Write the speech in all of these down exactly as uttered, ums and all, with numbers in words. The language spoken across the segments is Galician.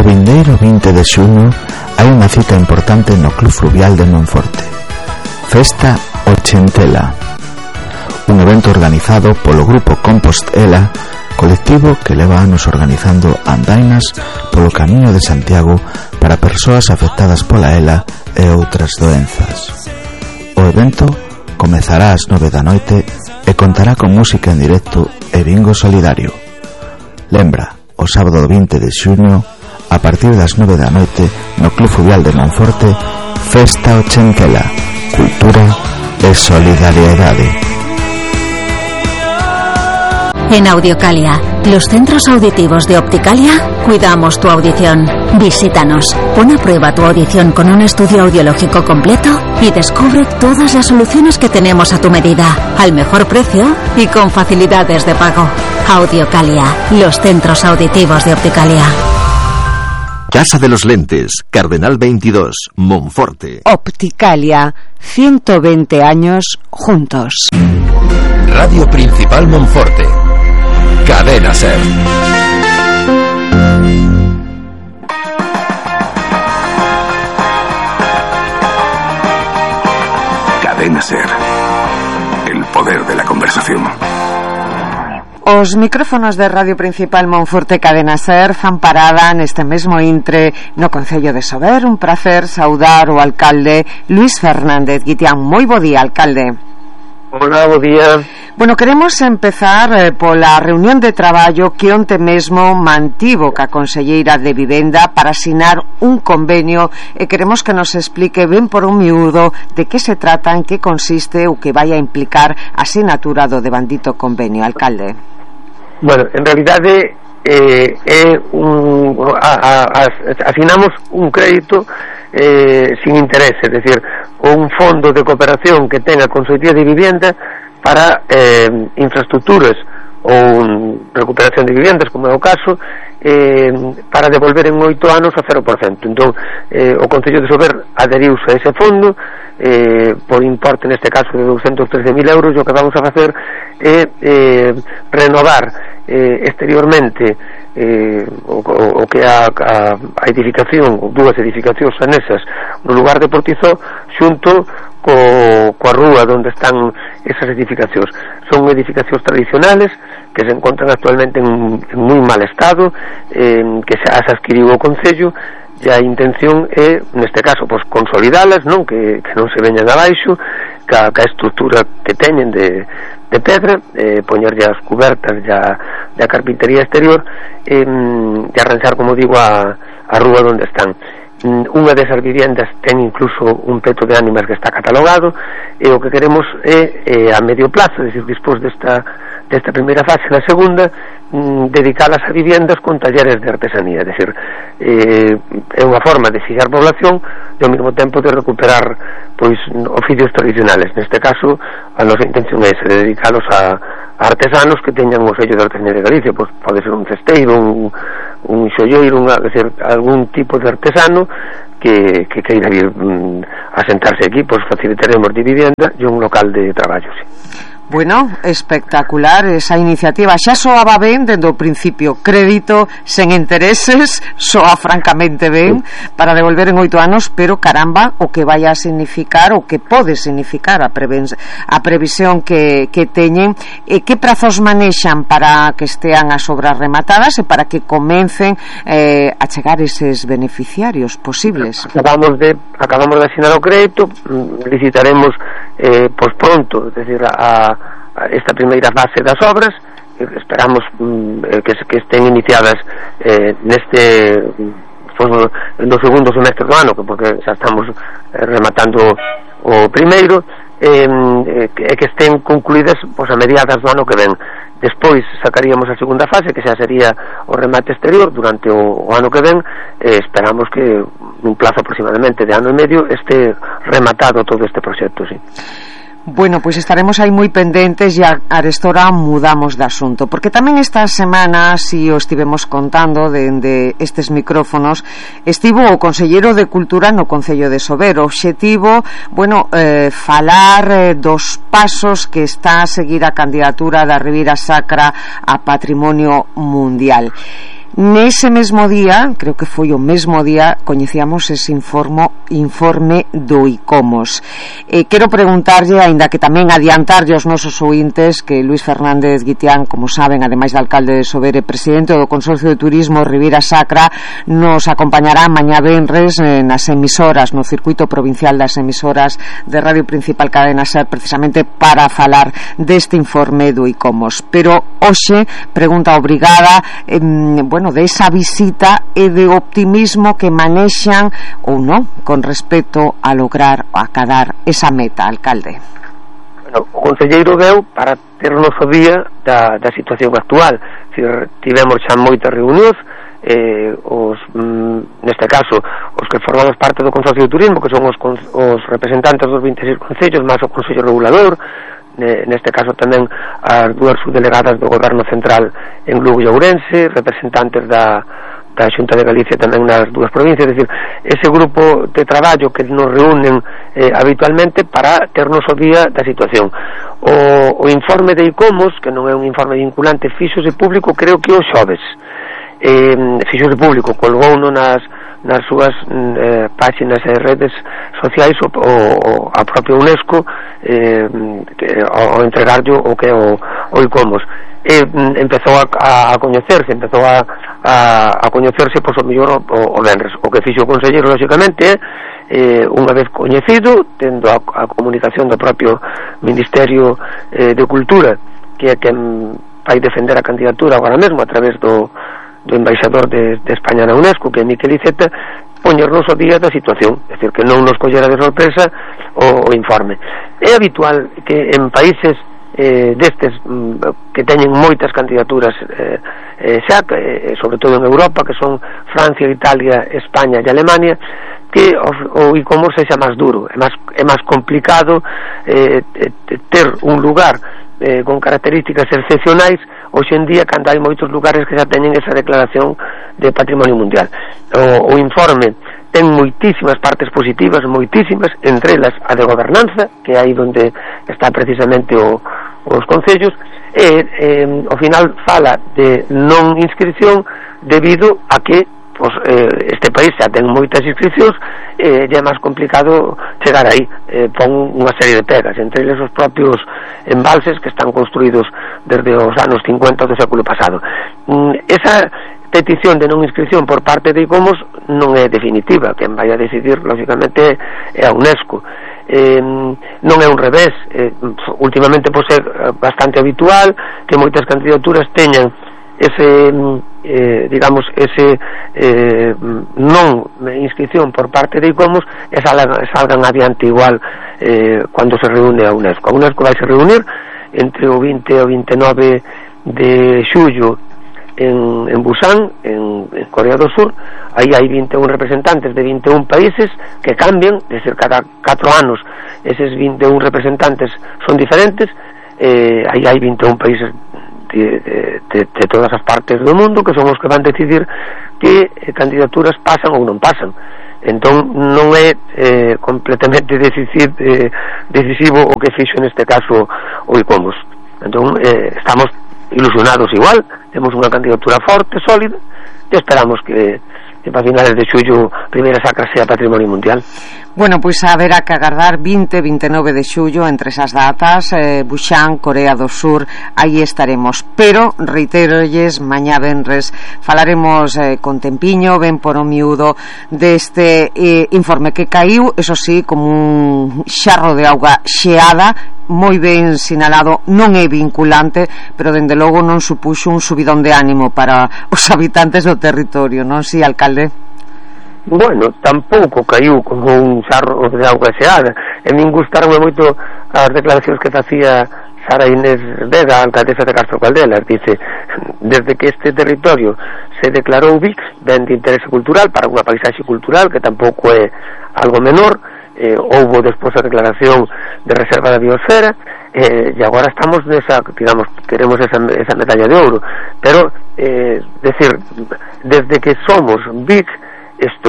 vindeiro vinte de xuño hai unha cita importante no Club Fluvial de Monforte, Festa Ochentela, un evento organizado polo grupo Compostela, colectivo que leva anos organizando andainas polo Camiño de Santiago para persoas afectadas pola ela e outras doenzas. O evento comezará ás nove da noite e contará con música en directo e bingo solidario. Lembra, o sábado vinte de xuño, a partir das nove da noite, no Club Fluvial de Monforte, Festa Ochentela, cultura e solidariedade. En Audiocalia, los centros auditivos de Opticalia, cuidamos tu audición. Visítanos, pon a prueba tu audición con un estudio audiológico completo y descubre todas las soluciones que tenemos a tu medida, al mejor precio y con facilidades de pago. Audiocalia, los centros auditivos de Opticalia. Casa de los Lentes, Cardenal veintidós, Monforte. Opticalia, ciento veinte años juntos. Radio Principal Monforte. Cadena Ser. Cadena Ser. El poder de la conversación. Os micrófonos de Radio Principal Monforte Cadena Ser fan parada neste mesmo intre no Concello de Sober. Un prazer saudar o alcalde Luís Fernández Guitián. Moi bo día, alcalde. Hola, bo día. Bueno, queremos empezar eh, pola reunión de traballo que onte mesmo mantivo ca Conselleira de Vivenda para asinar un convenio e queremos que nos explique ben por un miúdo de que se trata, en que consiste o que vai a implicar a asinatura do devandito convenio, alcalde. Bueno, en realidade eh, é un, a, a, asinamos un crédito eh, sin interés, é dicir, un fondo de cooperación que ten a Consellería de Vivenda para eh, infraestructuras ou recuperación de viviendas, como é o caso, eh, para devolver en oito anos a cero por cento. Entón, eh, o Concello de Sober aderiuse a ese fondo eh, por importe, neste caso, de douscentos trece mil euros. E o que vamos a facer é eh, renovar eh, exteriormente eh, o, o, o que a, a, a edificación, ou dúas edificacións anesas no lugar de Portizó, xunto co, coa rúa onde están esas edificacións. Son edificacións tradicionales que se encontran actualmente en, en moi mal estado, eh, que se as adquiriu o Concello, e a intención é, neste caso, pois, consolidalas, non? Que, que non se veñan abaixo, ca, ca estructura que teñen de, de pedra, eh, poñer as cubertas e a carpintería exterior, eh, e arranxar, como digo, a, a rúa onde están. Unha desas viviendas ten incluso un peto de ánimas que está catalogado, e o que queremos é, é a medio plazo, é dicir, despois desta, desta primeira fase, na segunda, mm, dedicadas a viviendas con talleres de artesanía, é dicir, eh, é unha forma de fijar población e ao mesmo tempo de recuperar, pois, oficios tradicionales. Neste caso, a nosa intención é esa, de dedicalos a, a artesanos que teñan o sello de artesanía de Galicia. Pois pode ser un cesteiro, un, un xolleiro, unha, é dicir, algún tipo de artesano que, que queira vir mm, a sentarse aquí. Pois facilitaremos de vivienda e un local de traballo, sí. Bueno, espectacular esa iniciativa. Xa soaba ben dende o principio, crédito sen intereses, soa francamente ben para devolver en oito anos, pero caramba, o que vai a significar, o que pode significar a, a previsión que, que teñen, e que prazos manexan para que estean as obras rematadas e para que comencen eh, a chegar eses beneficiarios posibles. Acabamos de, acabamos de asinar o crédito, licitaremos eh, pois pronto, es decir, a esta primeira fase das obras. Esperamos mm, que, que estén iniciadas eh, neste pues, no segundo semestre do ano, porque xa estamos eh, rematando o primeiro, eh, que, que estén concluídas pues, a mediadas do ano que ven. Despois sacaríamos a segunda fase, que xa sería o remate exterior durante o, o ano que ven. eh, esperamos que nun plazo aproximadamente de ano e medio este rematado todo este proxecto, sí. Bueno, pois estaremos aí moi pendentes e arestora mudamos de asunto, porque tamén esta semana, si o estivemos contando dende estes micrófonos, estivo o conselleiro de Cultura no Concello de Sober. O obxectivo, bueno, eh, falar eh, dos pasos que está a seguir a candidatura da Ribeira Sacra a Patrimonio Mundial. Nese mesmo día, creo que foi o mesmo día, coñecíamos ese informe, informe do ICOMOS. Eh, quero preguntarlle, aínda que tamén adiantarlle aos nosos ointes, que Luís Fernández Guitián, como saben, ademais de alcalde de Sobere, presidente do Consorcio de Turismo Ribeira Sacra, nos acompañará mañá venres eh, nas emisoras, no circuito provincial das emisoras de Radio Principal Cadena Ser, precisamente para falar deste informe do ICOMOS. Pero hoxe, pregunta obrigada, eh, bueno, de esa visita e de optimismo que manexan ou non con respecto a lograr a acadar esa meta, alcalde. Bueno, o conselleiro veu para ter o noso día da, da situación actual. Tivemos xa moitas reunións, eh, os, mm, neste caso os que formamos parte do Consorcio de Turismo, que son os, os representantes dos vinte e seis concellos máis o Consello Regulador, neste caso tamén as dúas subdelegadas do Goberno Central en Lugo e Ourense, representantes da, da Xunta de Galicia tamén nas dúas provincias, é dicir, ese grupo de traballo que nos reúnen eh, habitualmente para ternos o día da situación. O, o informe de ICOMOS, que non é un informe vinculante, fíxose público creo que o xoves, eh, fíxose público, colgouno nas nas súas eh, páxinas e redes sociais o, o, a propia UNESCO eh, que, ao entregarlo o que é o, o ICOMOS e mm, empezou a, a, a coñecerse empezou a, a, a coñecerse pois, o mellor o, o venres. O que fixo o conselleiro lógicamente é eh, unha vez coñecido, tendo a, a comunicación do propio Ministerio eh, de Cultura, que é quen vai defender a candidatura agora mesmo a través do do embaixador de, de España na UNESCO, que é Miquel Iceta, poñernos o día da situación, é dicir, que non nos collera de sorpresa o, o informe. É habitual que en países eh, destes mm, que teñen moitas candidaturas eh, eh, xa, eh, sobre todo en Europa, que son Francia, Italia, España e Alemania, que o, o ICOMOS sexa máis duro, é máis, é máis complicado eh, ter un lugar eh, con características excepcionais hoxe en día, cando hai moitos lugares que xa teñen esa declaración de patrimonio mundial. O, o informe ten moitísimas partes positivas, moitísimas, entre elas a de gobernanza, que é aí onde está precisamente o, os concellos, e eh, ao final fala de non inscripción debido a que pues, eh, este país xa ten moitas inscripcións e eh, é máis complicado chegar aí. Eh, pon unha serie de pegas, entre eles os propios embalses que están construídos desde os anos cincuenta do século pasado. Mm, esa petición de non inscripción por parte de ICOMOS non é definitiva, quen vai a decidir lógicamente é a UNESCO. Eh, non é un revés, eh, últimamente pois é bastante habitual que moitas candidaturas teñan ese eh, digamos ese eh, non inscripción por parte de ICOMOS e salgan, salgan adiante igual eh, cando se reúne a UNESCO. A UNESCO vai se reunir entre o vinte e o vinte e nove de xullo en, en Busan, en, en Corea do Sur. Aí hai vinte e un representantes de vinte e un países que cambian, é dicir, cada catro anos eses vinte e un representantes son diferentes. Eh, aí hai vinte e un países De, de, de todas as partes do mundo que son os que van decidir que eh, candidaturas pasan ou non pasan. Entón non é eh, completamente decisivo, eh, decisivo o que fixo neste caso o ICOMOS. Entón eh, estamos ilusionados igual, temos unha candidatura forte, sólida, e esperamos que, que para finales de xullo Ribeira Sacra sea patrimonio mundial. Bueno, pois haberá que agardar vinte e vinte e nove de xullo entre esas datas, eh, Busan, Corea do Sur, aí estaremos. Pero, reiterolles, mañá venres falaremos eh, con tempiño, ben por o miúdo, deste eh, informe que caiu, eso sí, como un xarro de auga xeada, moi ben sinalado, non é vinculante, pero dende logo non supuxo un subidón de ánimo para os habitantes do territorio, non si, alcalde? Bueno, tampouco caiu como un xarro de auga xeada. E min gustaron moito as declaracións que facía Sara Inés Vega, alcaldesa de Castro Caldelas. Dice, desde que este territorio se declarou B I C, ben de interese cultural para unha paisaxe cultural, que tampouco é algo menor, eh, houbo despois a declaración de reserva da biosfera, eh, e agora estamos nesa, digamos, queremos esa, esa medalla de ouro. Pero, eh, decir, desde que somos B I C, isto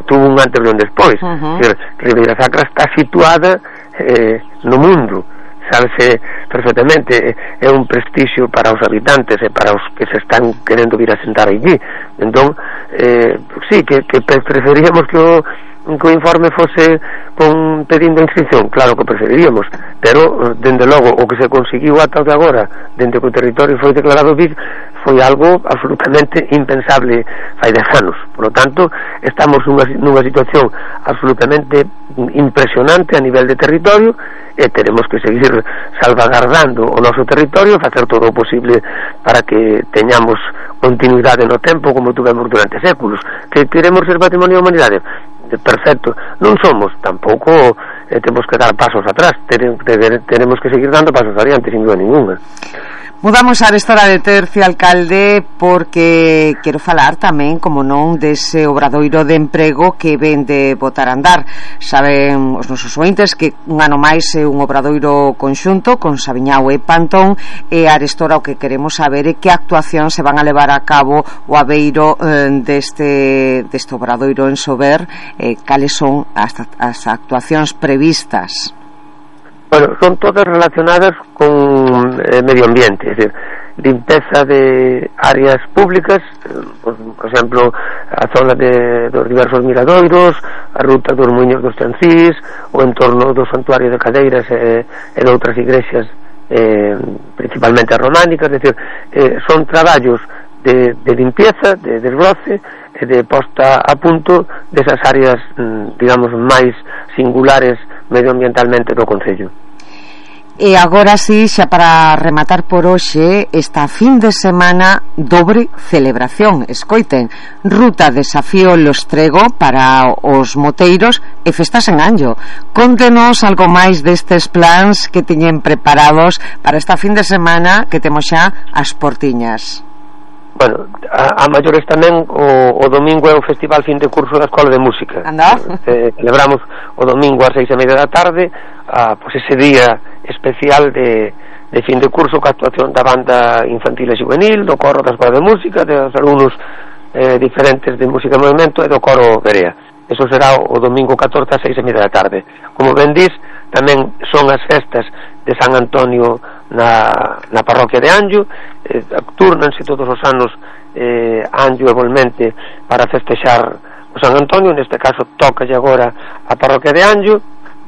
tuvo un antes e un despois. Uh-huh. Ribeira Sacra está situada eh, no mundo, sabese perfectamente, é un prestixio para os habitantes e para os que se están querendo vir a sentar allí. Entón, eh, sí, que, que preferíamos que o que o informe fose con pedindo inscripción, claro que preferiríamos, pero dende logo o que se conseguiu ata de agora, dende que o territorio foi declarado V I D, foi algo absolutamente impensable fai dez anos. Por lo tanto, estamos nunha, nunha situación absolutamente impresionante a nivel de territorio, e teremos que seguir salvagardando o noso territorio, facer todo o posible para que teñamos continuidade no tempo como tuvemos durante séculos. Que queremos ser patrimonio da humanidade? Perfecto, non somos, tampouco eh, temos que dar pasos atrás, tenemos que seguir dando pasos adiante, sin duda ninguna. Mudamos a esta hora de tercio, alcalde, porque quero falar tamén, como non, dese obradoiro de emprego que ven de botar a andar. Saben os nosos ointes que un ano máis é un obradoiro conxunto con Sabiñao e Pantón, e arestora o que queremos saber é que actuacións se van a levar a cabo o aveiro eh, deste, deste obradoiro en Sober, eh, cales son as, as actuacións previstas. Bueno, son todas relacionadas con eh, medio ambiente, es decir, limpeza de áreas públicas, eh, por, por exemplo, a zona de, dos diversos miradoiros, a ruta dos Muiños dos Chancís, o entorno do Santuario de Cadeiras e, e de outras igrexas, eh, principalmente románicas, es decir, eh, son traballos de, de limpieza, de desbroce e de posta a punto desas áreas, digamos, máis singulares medioambientalmente do Concello. E agora sí, xa para rematar por hoxe, esta fin de semana dobre celebración. Escoiten, ruta Desafío Lostrego para os moteiros e festas en Anllo. Contenos algo máis destes plans que teñen preparados para esta fin de semana que temos xa as portiñas. Bueno, a, a maiores tamén o, o domingo é o Festival Fin de Curso da Escola de Música. Anda? Eh, celebramos o domingo ás seis e media da tarde, a, pues ese día especial de, de fin de curso, ca actuación da banda infantil e juvenil, do coro da Escola de Música, dos alumnos eh, diferentes de música e movimento e do coro Berea. Eso será o domingo catorce ás seis e media da tarde. Como ben dis, tamén son as festas de San Antonio na, na parroquia de Anllo, eh, turnanse todos os anos eh, Anllo e Volmente para festexar o San Antonio. Neste caso tocalle agora a parroquia de Anllo.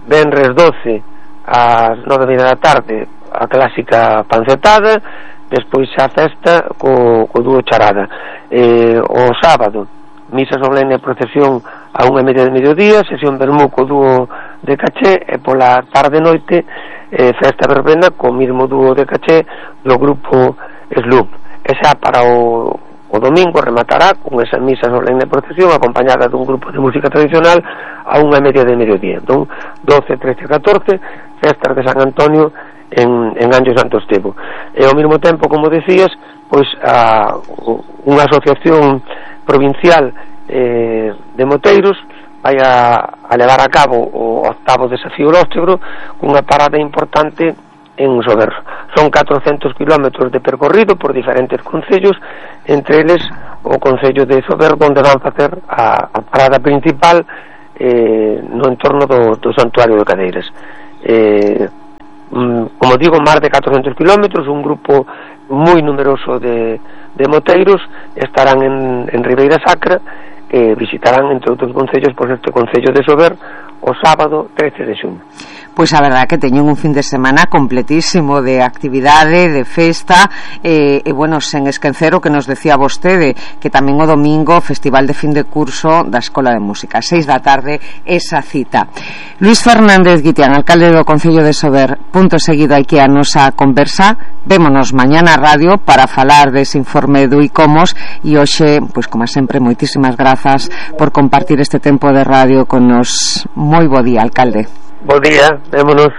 Venres doce ás nove e media da tarde a clásica pancetada, despois a festa co, co dúo charada. Eh, o sábado misa solemne e procesión a unha e media de mediodía, sesión vermú co dúo de Caché, e pola tarde noite eh, festa verbena co mismo dúo de Caché do grupo Sloop. E xa para o, o domingo rematará con esa misa solemne e procesión acompañada dun grupo de música tradicional a unha e media de mediodía. Entón, doce, trece e catorce festas de San Antonio en, en Anllo Santo Estevo. E ao mesmo tempo, como decías, pois a, unha asociación provincial eh, de moteiros vai a, a levar a cabo o octavo Desafío Lóstregro cunha parada importante en Sober. Son catrocentos kilómetros de percorrido por diferentes concellos, entre eles o concello de Sober, onde van facer a, a parada principal eh, no entorno do, do Santuario de Cadeiras. Eh, como digo, máis de catrocentos kilómetros, un grupo moi numeroso de, de moteiros estarán en, en Ribeira Sacra e visitarán, entre outros concellos, pois este concello de Sober o sábado trece de xuño. Pois a verdade que teñen un fin de semana completísimo de actividade, de festa, e, e bueno, sen esquecer o que nos decía vostede, que tamén o domingo Festival de fin de curso da Escola de Música, seis da tarde esa cita. Luis Fernández Guitián, alcalde do Concello de Sober, punto seguido aquí a nosa conversa. Vémonos mañana a radio para falar dese informe do ICOMOS, e hoxe, pois como sempre, moitísimas grazas por compartir este tempo de radio con nos. Moi bo día, alcalde. Bo día, vémonos.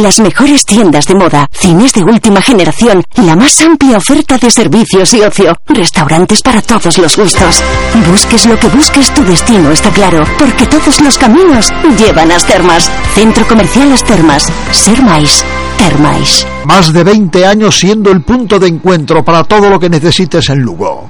Las mejores tiendas de moda, cines de última generación, la más amplia oferta de servicios y ocio, restaurantes para todos los gustos. Busques lo que busques, tu destino está claro, porque todos los caminos llevan a Las Termas. Centro Comercial Las Termas. Ser máis, ter máis. Más de veinte años siendo el punto de encuentro para todo lo que necesites en Lugo.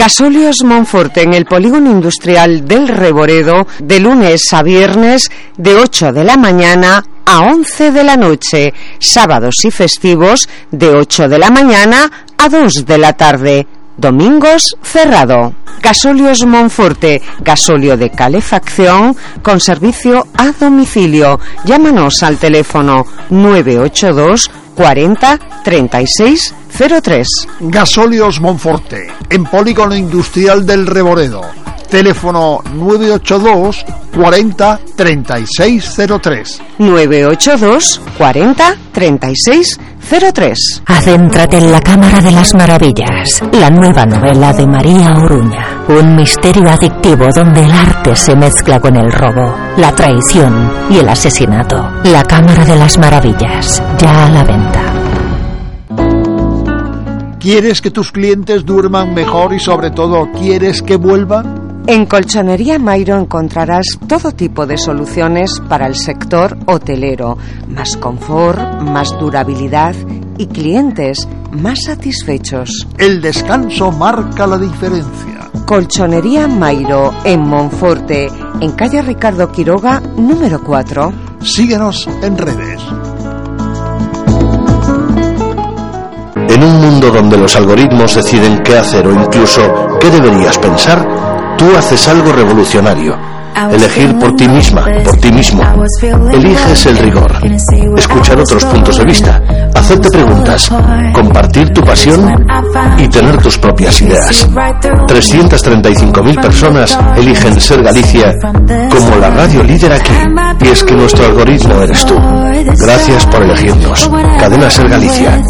Gasóleos Monforte en el Polígono Industrial del Reboredo, de lunes a viernes, de ocho de la mañana a once de la noche, sábados y festivos, de ocho de la mañana a dos de la tarde. Domingos cerrado. Gasóleos Monforte, gasóleo de calefacción con servicio a domicilio. Llámanos al teléfono nueve ocho dos cuarenta treinta y seis cero tres. Gasóleos Monforte, en Polígono Industrial del Reboredo. Teléfono nueve ocho dos cuarenta treinta y seis cero tres. nueve ocho dos cuarenta treinta y seis cero tres. Adéntrate en la Cámara de las Maravillas, la nueva novela de María Oruña. Un misterio adictivo donde el arte se mezcla con el robo, la traición y el asesinato. La Cámara de las Maravillas, ya a la venta. ¿Quieres que tus clientes duerman mejor y sobre todo quieres que vuelvan? En Colchonería Mairo encontrarás todo tipo de soluciones para el sector hotelero, más confort, más durabilidad y clientes más satisfechos. El descanso marca la diferencia. Colchonería Mairo en Monforte, en calle Ricardo Quiroga, número cuatro. Síguenos en redes. En un mundo donde los algoritmos deciden qué hacer o incluso qué deberías pensar, tú haces algo revolucionario. Elegir por ti misma, por ti mismo. Eliges el rigor. Escuchar otros puntos de vista. Hacerte preguntas. Compartir tu pasión y tener tus propias ideas. trescientas treinta y cinco mil personas eligen Ser Galicia como la radio líder aquí. Y es que nuestro algoritmo eres tú. Gracias por elegirnos. Cadena Ser Galicia.